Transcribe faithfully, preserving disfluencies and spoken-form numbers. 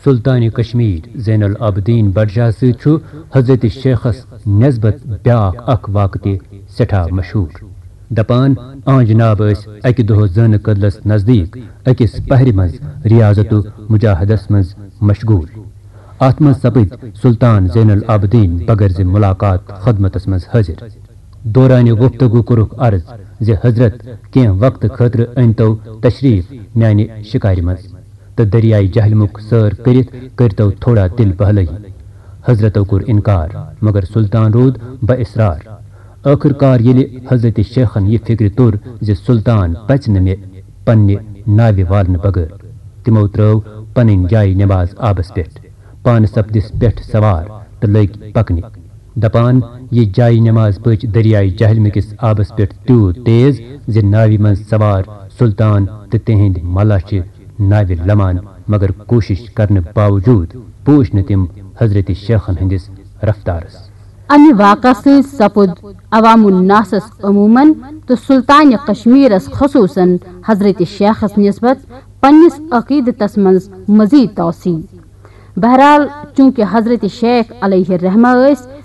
سلطان کشمیر زین العابدین بڈشاہ سۭتۍ چھُ حضرت شیخس نسبت بیاکھ اکھ واقعہٕ تہِ سٮ۪ٹھاہ مشہوٗر۔ دپان، آ جناب ٲسۍ اکہِ دۄہ زٲنہٕ کدلس نزدیٖک أکِس پہرِ منٛز ریاضت و مجاہدس منٛز مشغول۔ اتھ منٛز سپٕدۍ سلطان زین العابدین بغٲر زِ ملاقات خدمتس منٛز حٲضِر۔ دورانہِ گفتگو کوٚرُکھ عرض زِ حضرت، کینٛہہ وقتہٕ خٲطرٕ أنۍتو تشریف میانہِ شکارِ منٛز تہٕ دریائے جہلمُک سٲر کٔرِتھ کٔرۍتو تھوڑا دل بہلٲیی۔ حضرتو کوٚر انکار، مگر سلطان روٗد با اصرار۔ ٲخٕر کار ییٚلہِ حضرت شیخن یہِ فکرِ توٚر زِ سلطان پژِ نہٕ مےٚ پننہِ ناوِ والنہٕ بغٲر، تِمو ترٲو پنٕنۍ جایہِ نماز آبس پٮ۪ٹھ، پانہٕ سپدِس پٮ۪ٹھ سوار تہٕ لٔگۍ پکنہِ۔ دپان، یہِ جایہِ نماز پٔچ دریائے جہلمہِ کِس آبس پٮ۪ٹھ تیوٗت تیز زِ ناوِ منٛز سوار سلطان تہٕ تِہنٛدۍ ملا چھِ ناوِ لمان، مگر کوٗشش کرنہٕ باوجود پوٗچھ نہٕ تِم حضرت شیخن ہٕنٛدِس رفتارس۔ امہِ واقعہٕ سۭتۍ سپُد عوام الناسس عموماً تہٕ سلطانِ کشمیرس خصوصاً حضرت شیخس نسبت پننِس عقیدتس منٛز مزید توسیع۔ بہرحال، چونکہ حضرت شیخ علیہ الرحمہ ٲسۍ